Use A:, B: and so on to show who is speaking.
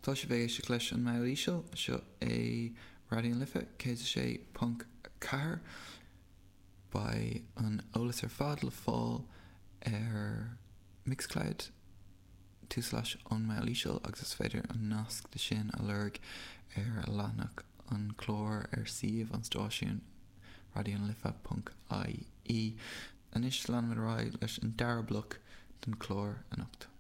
A: Tá sibh ag éisteacht leis an mBall Íseal, seo é Raidió na Life 106.4. Beidh an eolas ar fad le fáil ar Mixcloud, tulslais Ón mBall Íseal agus is féidir an nasc de sin a lorg ar leathanach an chláir ar suíomh an stáisiúin raidionalife.ie. Anois leanfaimid ar aghaidh leis an dara bloc den chlár anocht.